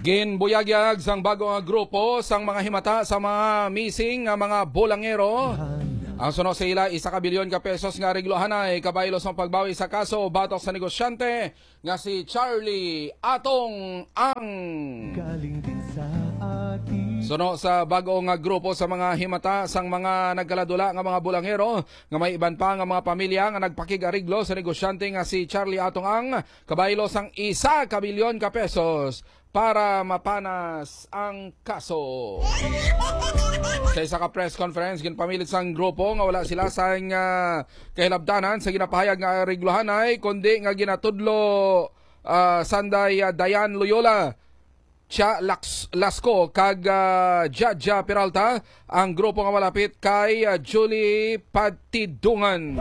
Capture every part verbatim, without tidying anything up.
Ginbuyagyag sang bago nga grupo sang mga himata sa mga missing nga mga bulangero. Ang suno sa ila, isa ka bilyon ka pesos nga areglohanay kabaylo sang pagbawi sa kaso batok sa negosyante nga si Charlie Atong Ang. Galing din sa atin. Suno sa bago nga grupo sa mga himata sang mga nagkaladula nga mga bulangero nga may iban pa nga mga pamilya nga nagpakig-ariglo sa negosyante nga si Charlie Atong Ang, kabaylo sang isa ka bilyon ka pesos para mapanas ang kaso. Sa isa ka press conference, ginpamilit sang grupo nga wala sila sang, ah, kahilabtanan sa ginapahayag nga areglohanay, kundi nga ginatudlo, ah, sanday, ah, Dayan Loyola, Cha Lax-, Lasco kag, ah, Jaja Peralta ang grupo nga malapit kay, ah, Julie Patidungan.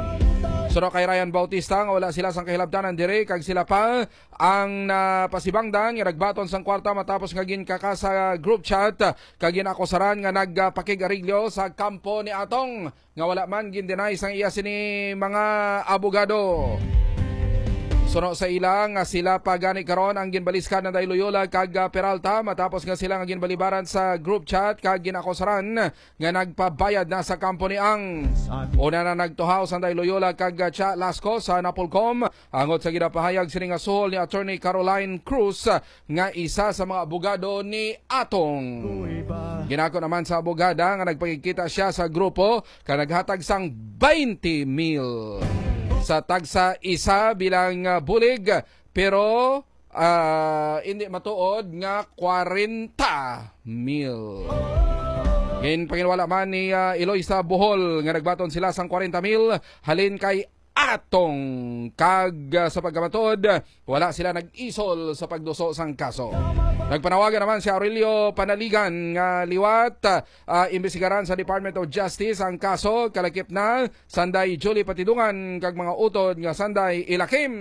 Suno kay Ryan Bautista nga wala sila sang kahilabtanan diri kag sila pa ang napasibangdan nga nagbaton sang kwarta matapos nga ginkaka sa group chat kag ginakusaran nga nagpakig-ariglo sa kampo ni Atong, nga wala man gin-deny sang iya sini mga abogado. Suno sa ila nga sila pa gani karon ang ginbaliskan na Day Loyola kag, ah, Peralta matapos nga sila nga ginbalibaran sa group chat kag ginakusaran nga nagpabayad na sa kampo ni Ang. Una na nagtuhaw sang Day Loyola kag, ah, Cha Lasco sa Napolcom angot sa ginapahayag sini nga suhol ni Attorney Caroline Cruz, ah, nga isa sa mga abogado ni Atong. Ginako naman sa abogada nga nagpakigkita siya sa grupo ka naghatag sang twenty mil sa tagsa isa bilang, ah, bulig, pero, ah, hindi matuod nga kwarenta mil. Ginpanginwala man ni, ah, Eloisa Bohol nga nagbaton sila sang kwarenta mil halin kay Atong, kag, ah, sa pagkamatuod, wala sila nag-isol sa pagduso sang kaso. Nagpanawagan naman si Aurelio Panaligan nga liwat, ah, imbestigaran sa Department of Justice ang kaso kalakip na sanday Julie Patidungan kag mga utod nga sanday Ilakim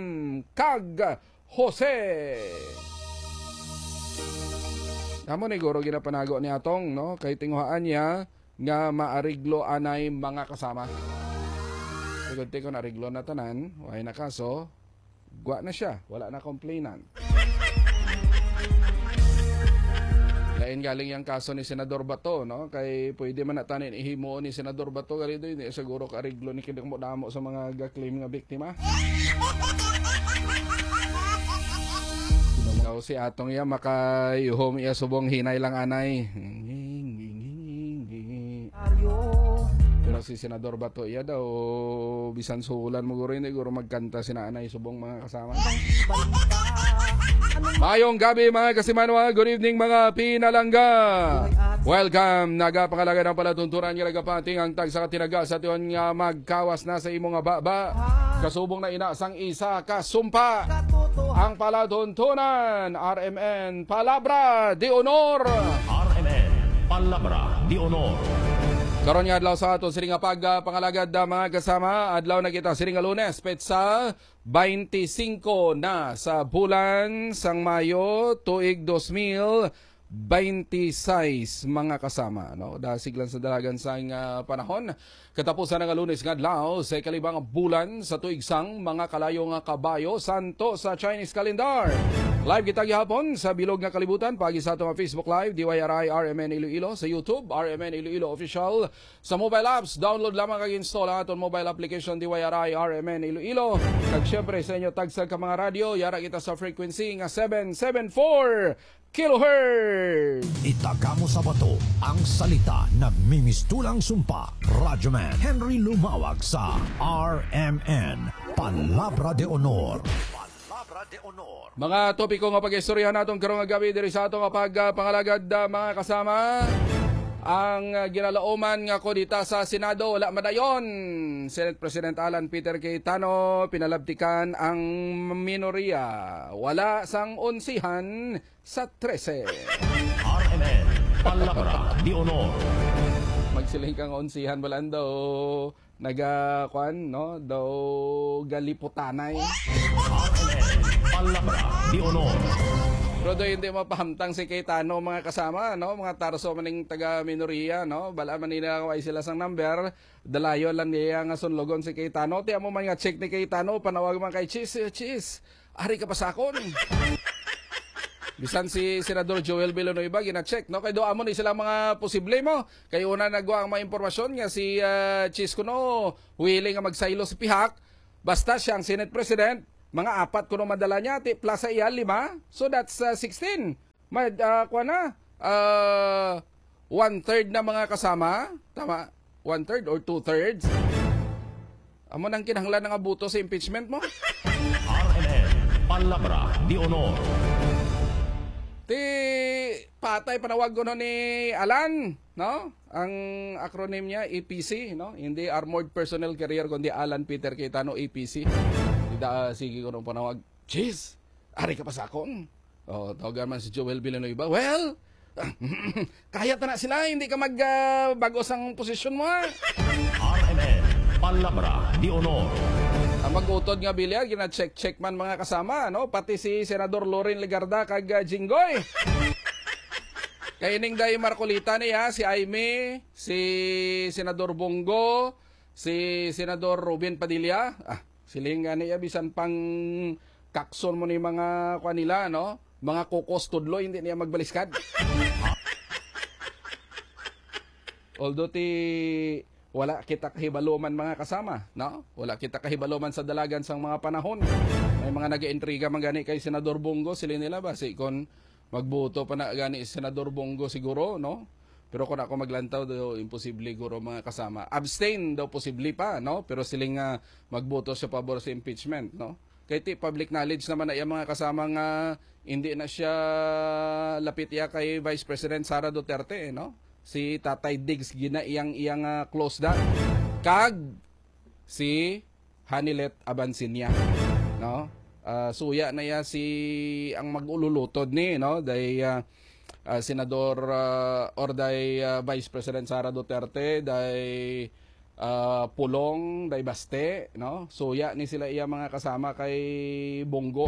kag Jose. Amo ni guro ginapanago ni Atong, no? Kay tinguhaan niya nga maariglo anay mga kasama. Sigod ti kung ariglo na tanan, way na kaso, gwa na siya, wala na complainant. Lain galing yang kaso ni Senador Bato, no? Kay pwede man na tanin ihimo ni Senador Bato, gali doy, hindi siguro ka ariglo ni kinamo damo sa mga ga-claim nga biktima. Daw si Atong iya makayuhom iya subong hinay lang anay. Pero si Senador Bato iya daw bisan sulan mo guro, hindi guro magkanta sina anay subong mga kasama. Mayong gabi, mga kasimanwa. Good evening, mga pinalangga. Welcome. Nagapangalagad ang palatuntunan nga nagapating ang tagsa ka tinaga sa tion nga magkawas na sa imo nga baba. Kasubong na ina sang isa ka sumpa. Ang palatuntunan, R M N, Palabra de Honor. R M N, Palabra de Honor. Karon nga adlaw sa ato sini nga pagpangalagad, ah, mga kasama, adlaw na kita sini nga Lunes, petsa twenty-cinco na sa bulan sang Mayo, tuig dos mil twenty-six, mga kasama, no? Dasig lang sa dalagan sang, ah, panahon. Katapusan nga Lunes nga adlaw sa ikalibang bulan sa tuig sang mga kalayo nga kabayo santo sa Chinese calendar. Live kita gihapon sa bilog nga kalibutan, paagi sa ato nga Facebook Live, D Y R I R M N Iloilo, sa YouTube, R M N Iloilo Official, sa mobile apps, download lamang kag install ang aton mobile application D Y R I R M N Iloilo. Kag syempre sa inyo tagsa ka mga radyo, yara kita sa frequency nga seven seven four kilohertz. Itaga mo sa bato ang salita, nagmimistulang sumpa. Radyoman Henry Lumawag sa R M N, Palabra de Honor. Palabra de Honor. Mga topiko nga pag-istoryahan naton karong nga gabi diri sa ato nga pagpangalagad, ah, mga kasama. Ang, ah, ginalauman nga kudeta sa Senado, wala madayon. Senate President Alan Peter Cayetano, pinalabtikan ang minorya. Wala sang onsihan sa trese. R M N, Palabra de Honor. Magsiling kang onsihan, balaan daw naga, kuan, no? Daw galiputanay. R M N, Palabra de Honor. Pero daw hindi mapahamtang si Cayetano, mga kasama, no? Mga tarso maning taga-minoriya, no? Bala man nila kung ay sila sang number, dalayon lang niya nga sunlogon si Cayetano. Ti amo man nga chick ni Cayetano, panawag man kay Chis, eh, Chis, ari ka pa sa akon. Bisan si Senador Joel Villanueva gina-check, no? Kay do amo ni sila mga posible mo. Kay una nagwa ang mga impormasyon nga si, ah, Chiz kuno willing nga magsaylo sa pihak. Basta siya ang Senate President, mga apat kuno madala niya, ti plus sa iya, lima. So that's, ah, sixteen. Ma-, ah, kuwan na, ah, one-third na mga kasama. Tama? One-third or two-thirds? Amo nang kinahanglan nga boto sa impeachment mo? R M N, Palabra de Honor. Ti patay panawag kuno ni Alan, no? Ang acronym niya, A P C, no? Hindi Armored Personnel Carrier, kundi Alan Peter Cayetano, A P C. Ida, ah, sige ko nung panawag, Jeez, ari ka pa sa akon. Oh, tawagan man si Joel Villanueva. Well, kaya ta na sila, hindi ka mag, ah, bago sang posisyon mo, ha? R M N, Palabra de Honor. Ang mag-utod nga bilya, gina-check-check man mga kasama, no? Pati si Senador Loren Legarda kag, ah, Jinggoy. Kay ning day Marcolita niya, si Aimee, si Senador Bong Go, si Senador Robin Padilla. Ah, siling nga niya, bisan pang kakson mo ni mga kuan nila, no? Mga kukos tudlo, hindi niya magbaliskad. Although ti wala kita kahibalo man mga kasama, no? Wala kita kahibalo man sa dalagan sang mga panahon. May mga nag-intriga man gani kay Senador Bong Go, siling nila ba si kon magboto pa na gani si Senador Bong Go siguro, no? Pero kung ako maglantaw daw, imposible guro mga kasama. Abstain daw posible pa, no? Pero siling nga magboto sa pabor sa impeachment, no? Kay ti public knowledge naman na iya mga kasama nga hindi na siya lapit iya kay Vice President Sara Duterte, no? Si Tatay Diggs gina iyang iyang, ah, close da. Kag si Hanilet Abansinya, no? Ah, suya na iya si ang mag-ululutod ni, no? Day, ah, ah, Senador, ah, or day, ah, Vice President Sara Duterte, day, ah, Pulong, day Baste, no? Suya ni sila iya mga kasama kay Bong Go.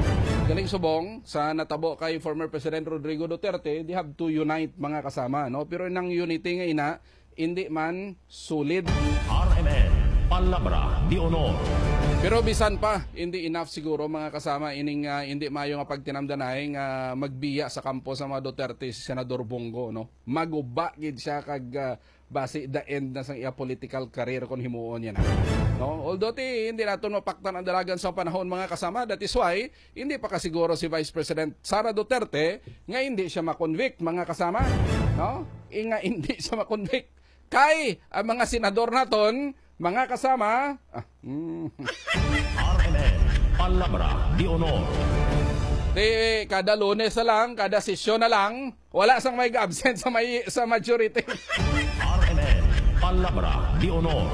Galing subong sa natabo kay former President Rodrigo Duterte, they have to unite mga kasama, no? Pero nang unity nga ina, hindi man solid. R M N, Palabra de Honor. Pero bisan pa, hindi enough siguro mga kasama ining, ah, hindi maayo nga pagtinamdanay nga magbiya sa kampo sa mga Duterte si Senador Bong Go, no? Maguba gid siya kag, ah, basi the end na sang iya political career kon himuon niya na. No? Although ti hindi naton mapaktan ang dalagan sa panahon mga kasama, that is why hindi pa kasiguro si Vice President Sara Duterte nga hindi siya ma-convict mga kasama, no? I nga hindi siya ma-convict kay ang mga senador naton, mga kasama, ah, mm, R M N, Palabra de Honor. Di kada Lunes na lang, kada sesyon na lang, wala sang may absent sa may sa majority. R M N, Palabra de Honor.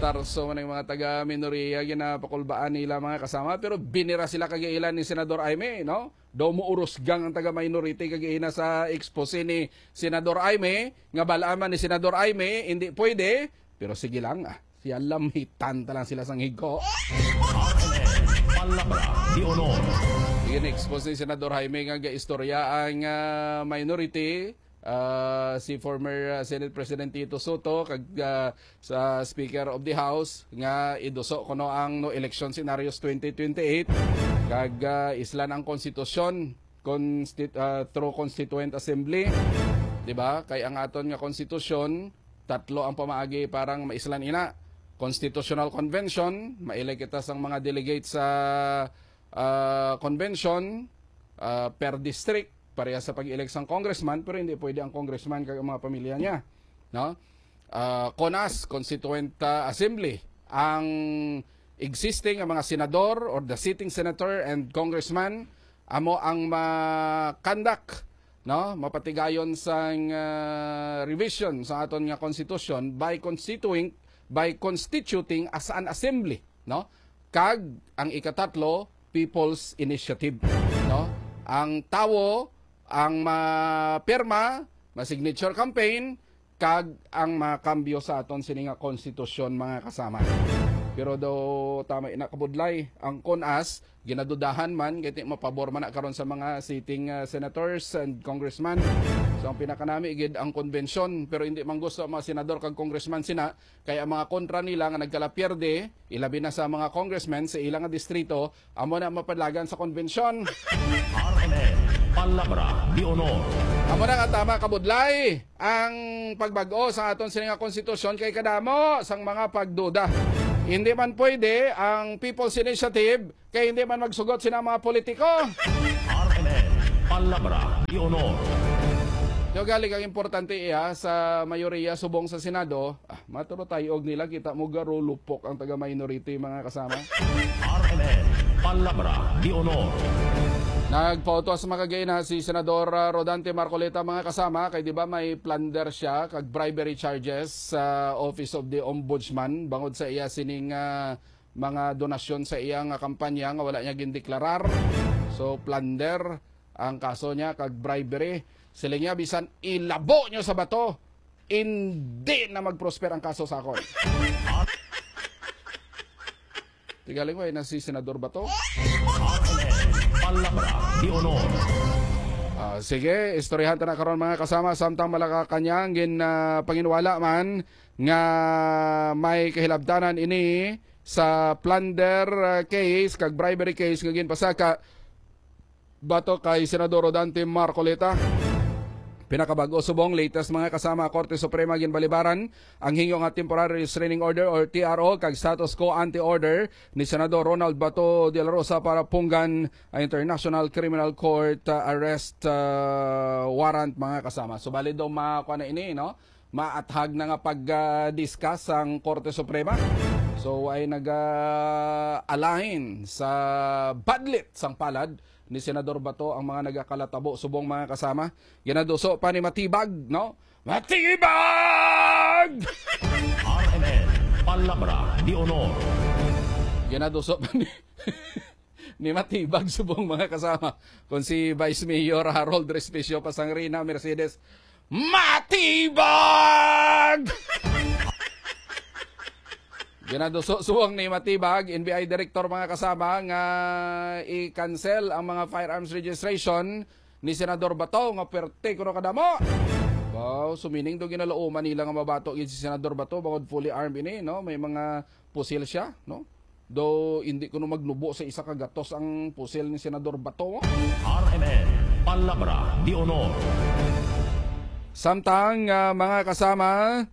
Tarso man ang mga taga minorya, ginapakulbaan nila mga kasama, pero binira sila kag ilan ni Senador Aimee, no? Daw mo urusgang ang taga minority kag ina sa expose ni Senador Aimee, nga bal-an man ni Senador Aimee, hindi pwede, pero sige lang, ah. Siya lamhitan ta lang sila sang higo. Palabra de Honor. Gin-expose ni Senador Jaime nga gaistorya ang, ah, minority, ah, si former, ah, Senate President Tito Soto kag, ah, sa Speaker of the House nga iduso kuno ang no election scenarios twenty twenty-eight kag, ah, islan ang konstitusyon, constit-, ah, through constituent assembly, di ba? Kay ang aton nga konstitusyon, tatlo ang pamaagi parang maislan ina. Constitutional Convention, mailay kita sang mga delegates sa, ah, convention, ah, per district, pareha sa pag-elect sang congressman, pero hindi pwede ang congressman kag ang mga pamilya niya, no? Ah, CONAS, Constituent, ah, Assembly, ang existing nga mga senador or the sitting senator and congressman amo ang ma-conduct, no, mapatigayon sang, ah, revision sa aton nga constitution by constituting by constituting as an assembly, no? Kag ang ikatatlo, people's initiative, no? Ang tawo ang mapirma, ma-signature campaign, kag ang mga kambyo sa aton sini nga konstitusyon, mga kasama. Pero do tama ina kabudlay ang CONAS, ginadudahan man kay ti mapabor man na karon sa mga sitting, ah, senators and congressman. So ang pinakanami gid ang konbensyon, pero hindi man gusto ang mga senador kag congressman sina, kay ang mga kontra nila nga nagkalapierde, ilabi na sa mga congressmen sa ilang nga distrito, amo na mapalagan sa konbensyon. R M N, Palabra de Honor. Amo na nga tama, kabudlay ang pagbag-o sa aton sini nga konstitusyon kay kadamo sang mga pagduda. Hindi man pwede ang People's Initiative kay hindi man magsugot sina mga politiko. R M N, Palabra de Honor. Yo galing ang importante iya sa mayoriya subong sa Senado, ah, maturo tayo og nila kita mo garulupok ang taga minority, mga kasama. R M N, Palabra de Honor. Nagpautos makagay na si Senador, ah, Rodante Marcoleta, mga kasama, kay di ba may plunder siya kag bribery charges sa Office of the Ombudsman bangod sa iya sining, ah, mga donasyon sa iya nga kampanya nga wala niya gindeklarar. So, plunder ang kaso niya kag bribery. Siling niya, bisan ilabo niyo sa bato, hindi na mag-prosper ang kaso sa akon. Tigaling ko na si Senador Bato. Palabra de Honor. Ah, sige, istoryahan ta na karon, mga kasama, samtang Malacañang gin, ah, panginwala man nga may kahilabtanan ini sa plunder, ah, case kag bribery case nga ginpasaka bato kay Senador Rodante Marcoleta. Pinakabag-o subong, latest, mga kasama, Korte Suprema ginbalibaran ang hingyo nga temporary restraining order or T R O kag status quo ante order ni Senador Ronald Bato de la Rosa para punggan ang International Criminal Court, uh, arrest, uh, warrant, mga kasama. So, bali daw makuha na ini, no? Maathag na nga pag-discuss ang Korte Suprema. So, ay nag-align sa badlit sang palad ni Senador Bato ang mga nagakalatabo subong, mga kasama. Ginaduso pa ni Matibag, no? Matibag! R M N, Palabra de Honor. Ginaduso pa ni, ni Matibag subong, mga kasama. Kung si Vice Mayor Harold Respicio Pasangrina Mercedes, Matibag! Ginaduso subong ni Matibag, N B I Director, mga kasama, nga i-cancel ang mga firearms registration ni Senador Bato nga perte kuno kadamo. Wow, sumining do ginalauman nila nga mabato gid si Senador Bato bangod fully armed ini, no? May mga pusil siya, no? Do hindi kuno magnubo sa isa ka gatos ang pusil ni Senador Bato. R M N, Palabra de Honor. Samtang, ah, mga kasama,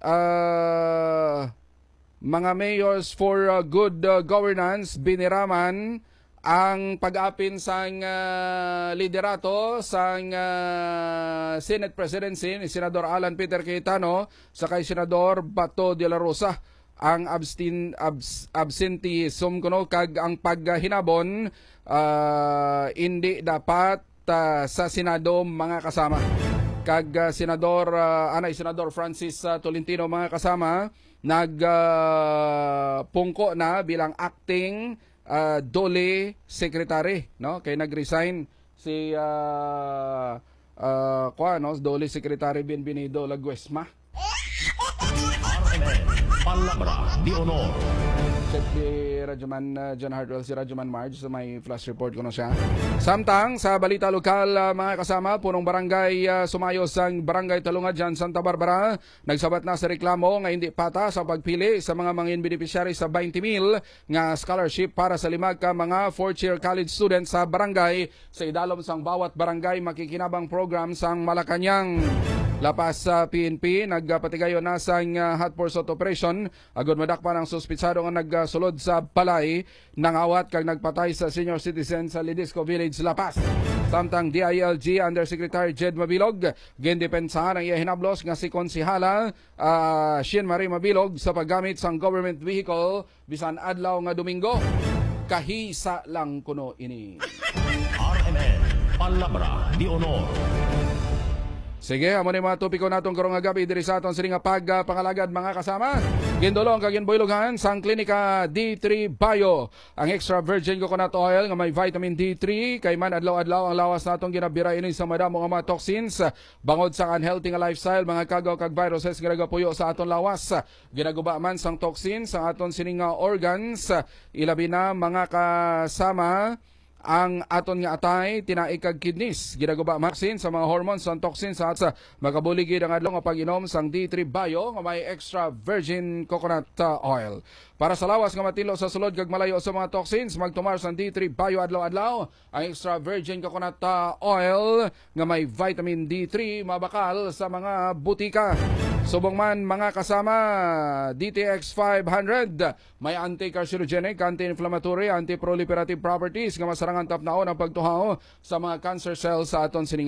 ah, mga mayors for, ah, good, ah, governance, biniraman ang pag-apin sang, ah, liderato sang, ah, Senate presidency ni Senador Alan Peter Cayetano sa kay Senador Bato de la Rosa. Ang abstin-, abs-, absenteeism kuno kag ang paghinabon, ah, indi dapat, ah, sa Senado, mga kasama. Kag, ah, Senador, ah, anay, Senador Francis, ah, Tolentino, mga kasama, nag, ah, pungko na bilang acting, ah, DOLE secretary, no? Kay nag-resign si, ah, ah, kuwan, no? DOLE Secretary Bienvenido Laguesma. Palabra de Honor. Check ni Radyoman, uh, John Hartwell, si Radyoman Marge sa may flash report kuno siya. Samtang sa balita lokal, uh, mga kasama, punong barangay, uh, sumayo sang Barangay Talunga dyan, Santa Barbara, nagsabat na sa reklamo nga hindi patas ang pagpili sa mga mangin beneficiary sa twenty mil nga scholarship para sa lima ka mga fourth year college students sa barangay sa idalom sang Bawat Barangay Makikinabang Program sang Malacañang. Lapas sa P N P, nagpatigayon na sang, ah, hot pursuit operation agud madakpan ang suspitsado nga nagsulod sa balay, nangawat kag nagpatay sa senior citizen sa Lidisco Village, Lapas. Samtang D I L G Undersecretary Jed Mabilog, gindepensahan ang iya hinablos nga si Konsehala, ah, Sheen Marie Mabilog sa paggamit sang government vehicle bisan adlaw nga Domingo. Kahisa lang kuno ini. R M N, Palabra de Honor. Sige, amo ni mga topiko naton karong nga gabi diri sa aton sini nga pagpangalagad, mga kasama. Gindulong kag ginbuyloghan sang Klinika D three Bio ang extra virgin coconut oil nga may vitamin D three, kay man adlaw-adlaw ang lawas naton ginabira ini sa madamo nga mga toxins bangod sa unhealthy nga lifestyle, mga kagaw kag viruses nga nagapuyo sa aton lawas. Ginaguba man sang toxin sa aton sining nga organs, ilabi na, mga kasama, ang aton nga atay, tinai kag kidneys. Ginaguba man sa mga hormones sang toxins sa, sa makabuligi ang adlaw nga pag-inom sang D three Bio nga may extra virgin coconut, uh, oil. Para sa lawas nga matinlo sa sulod kag malayo sa mga toxins, magtumar sang D three Bio adlaw-adlaw. Ang extra virgin coconut, uh, oil nga may vitamin D three mabakal sa mga butika. Subong man, mga kasama, D T X five hundred may anti-carcinogenic, anti-inflammatory, anti-proliferative properties nga masarangan tapnaon ang pagtuhaw sa mga cancer cells sa aton sining